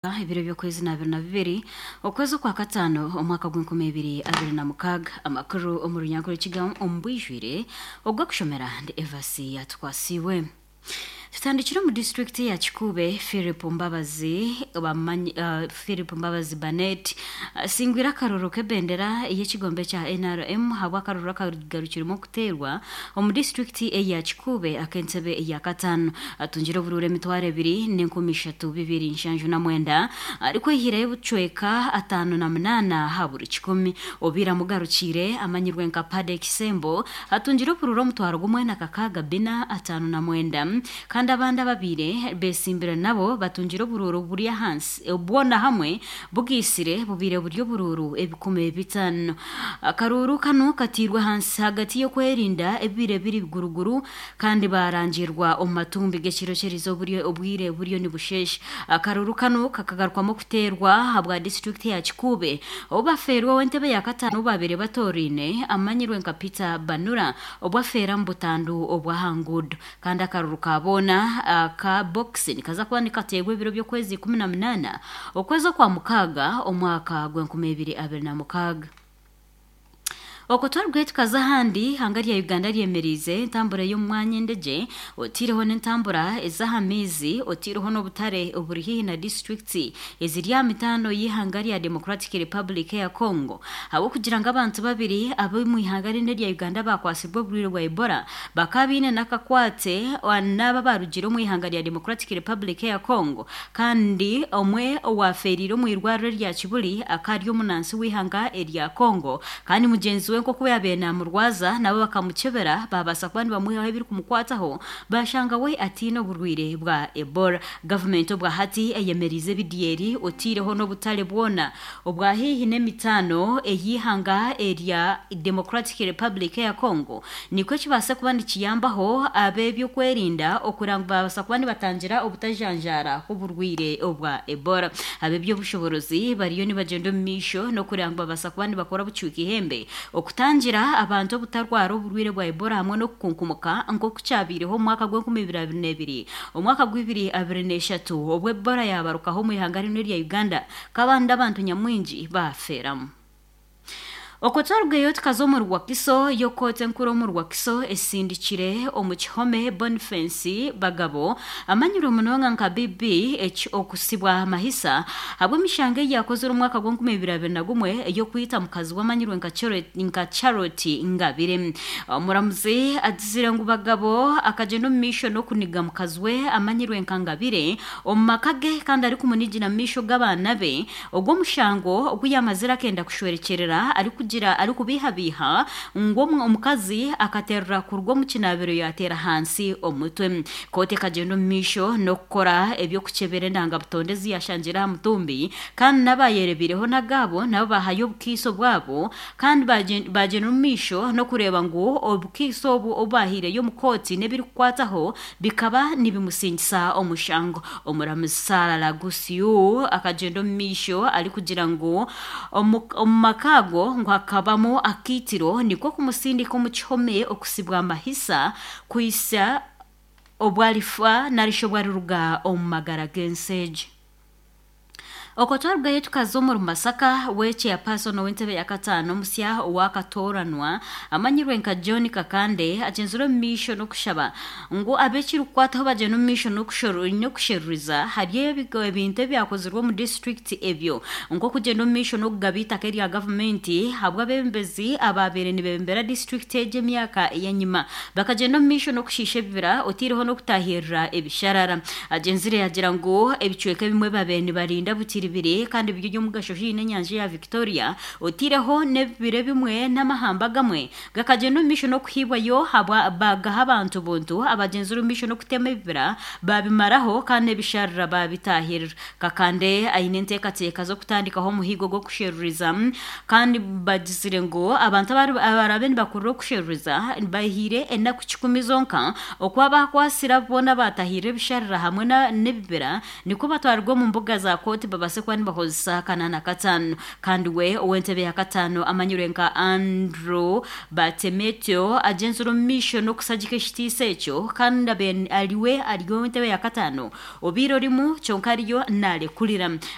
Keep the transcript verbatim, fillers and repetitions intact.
Ebiro by'okwezi n'abiri na bibiri okwezi okwa kataano omwaka gw'enkumi ibiri abiri na mukaaga. Amakuru omu runyankore kigamu omu bwijwire ogw'okushomera ndi Evasi yatukwasiibwe. Tutandikire omu disitulikiti ya Kikuube. Philip Mbabazi bamanyi, uh, Philip Mbabazi Banet asingwire akaruru k'ebendera ey'ekigombe kya N R M habw'akaruru akagarukiremu okuteerwa omu disitulikiti eya Kikuube ak'entebe eya kataano. Atungire oburuuru emitwaro ebiri n'enkumi ishatu bibiri nshanju na mwenda, arikwehireyo obucweka ataano na munaana aha buri kikumi. Obiire amugarukiire amanyirwe nka Pade Kisembo atungire oburuuru omutwaro gumwe na kakaaga bina ataano na mwenda, kandi abandi ababiire besimbire nabo batungire oburuuru buri ahansi, bwona hamwe bugiisire bubiire buri oburuuru ebikumi bitaano. Akaruuru kanu katiirwe ahansi hagati y'okwerinda ebibiire biri guruguru kandi barangirwa omu matumbi g'ekiro ky'erizooba obwire buriyo nibusheesha. Akaruuru kanu kakagarukwamu okuteerwa ahabwa disitulikiti ya Kikuube obu bafeerwa ow'entebe ya kataano obu babaire batoraine amanyirwe nka Peter Banura obu afeera omu butandu obw'aha nguudo. Kandi akaruuru ka boona aka bokisi nikaza kuba nikateerwa ebiro by'okwezi ikumi na munaana okwezi okwa mukaaga omwaka gw'enkumi ibiri abiri na mukaaga. Okwo twarugire tukaza ahandi. Ihanga rya Uganda ryemeriize entambura y'omu mwanya endegye, otiireho n'entambura ez'aha maizi, otiireho n'obutare oburi haihi na disitulikiti eziri aha mitaano y'ihanga rya Democratic Republic eya Congo, ahabw'okugira ngu abantu babiri ab'omu ihanga rinu erya Uganda bakwasibwe oburwaire bwa Ebola bakaba baine n'akakwate n'abo abarugire omu ihanga rya Democratic Republic eya Congo. Kandi omwe owafeeriire omu irwariro erya Kibuli akaba ari omunansi w'ihanga erya Congo, kandi mugyenzi we nk'oku yabaire namurwaza nabo bakamukyebera babaasa kuba nibamwihaho ebirikumukwataho, bashanga we ataine oburwaire bwa Ebola. Gavumenti obwa hati eyemeriize ebidyeri, otiireho n'obutare bwona obwa haihi n'emitaano ey'ihanga erya Democratic Republic eya Congo, nikwo kibaase kuba nikiyambaho ab'ebyokwerinda okugira ngu babaasa kuba nibatangira obutajanjaara h'oburwaire obwa Ebola. Ab'ebyobushoboorozi bariyo nibagyenda omu maisho n'okugira ngu babaasa kuba nibakora bucwika ihembe okutangira abantu obutarwara oburwaire bwa Ebola hamwe n'okukunkumuka nk'oku kyabaireho omu mwaka gw'enkumi ibiri abiri n'ebiri, omwaka gw'ibiri abiri n'eshatu, obu Ebola yabarukaho omu ihanga rinu erya Uganda kabandi abantu nyamwingi bafeeramu. Okwo twarugayo tukaza omu Rwakiso. Y'okooti enkuru omu Rwakiso esindikire omu kihome Boniface Bagabo amanyirwe munonga nka B B okusibwa amahisa habw'emishango ei yakozire omwaka gw'enkumi ibiri abiri na gumwe ey'okwita mukazi we amanyirwe nka nka Charlotte Ngabire. Omuramuzi agizire ngu Bagabo akagyenda omu maisho n'okuniga mukazi we amanyirwe nka Ngabire omu maka ge kandi arikumunigira mu maisho g'abaana be. Ogwo omushango ogu yamazire akenda kushwerekyerera arikugira arikubiihabiiha ngu omukazi akaterera kuruga omu kinaabiro yateera ahansi omutwe. Kooti ekagyenda omu maisho n'okukora eby'okukyebera endangabutonde ezi yashangire aha mutumbi, kandi n'abayerebireho n'agaabo nabo bahayo obukiiso bwabo, kandi bagyenda omu maisho n'okureeba ngu obukiiso obu obu bahiireyo omu kooti n'ebirikukwataho bikaba nibimusingisa omushango. Omuramuzi Sarah Lagusiu akagyenda omu maisho arikugira ngu omu maka ago ngu hakabamu akaitiro, nikwo kumusindika omu kihome okusibwa amahisa kuhisa obu arifa narishi obu ariruga omu magara g'ensi egi. Okwo twarugayo tukaza omuri Masaka. We chairperson ow'entebe ya kataano omusya owakatoranwa amanyirwe nka John Kakande agyenzire omu maisho n'okushaba ngu ab'ekirikukwataho bagyenda omu maisho n'okusheruriza hariyo ebintu ebyakozirwe omu disitulikiti ebyo, nk'okugyenda omu maisho n'okugaba eitaka erya gavumenti habw'abebembezi ababaire nibebembera disitulikiti egi emyaka ey'enyima bakagyenda omu maisho n'okushiisha ebibira, otiireho n'okutahirira ebisharara. Agyenzire yagira ngu ebicweka ebimwe babaire nibarinda butiribiri kandi biri eby'omugasho haihi n'enyanja ya Victoria, otiireho n'ebibira ebimwe n'amahamba agamwe gakagyenda omu maisho n'okuhiibwayo bagaha abantu buntu abagyenzire omu maisho n'okutema ebibira babimaraho kandi n'ebisharara babitahirira. Kakande aine enteekateeka z'okutandikaho omuhigo gw'okusheruriza, kandi bagizire ngu abantu abarabe nibakurira okusheruriza bahiire enaku kikumi zonka okuba bakwasira boona batahirira ebisharara hamwe n'ebibira, nikwo batwarirwe omu mbuga za kooti babaase kuba nibakozesa kanaana kataano. Kandi we ow'entebe ya kataano amanyirwe nka Andrew Batemetyo agyenzire omu maisho n'okusagika ekitiisa ekyo, kandi ariwe ari ow'entebe ya kataano obiire orimu kyonka ariyo narekurira.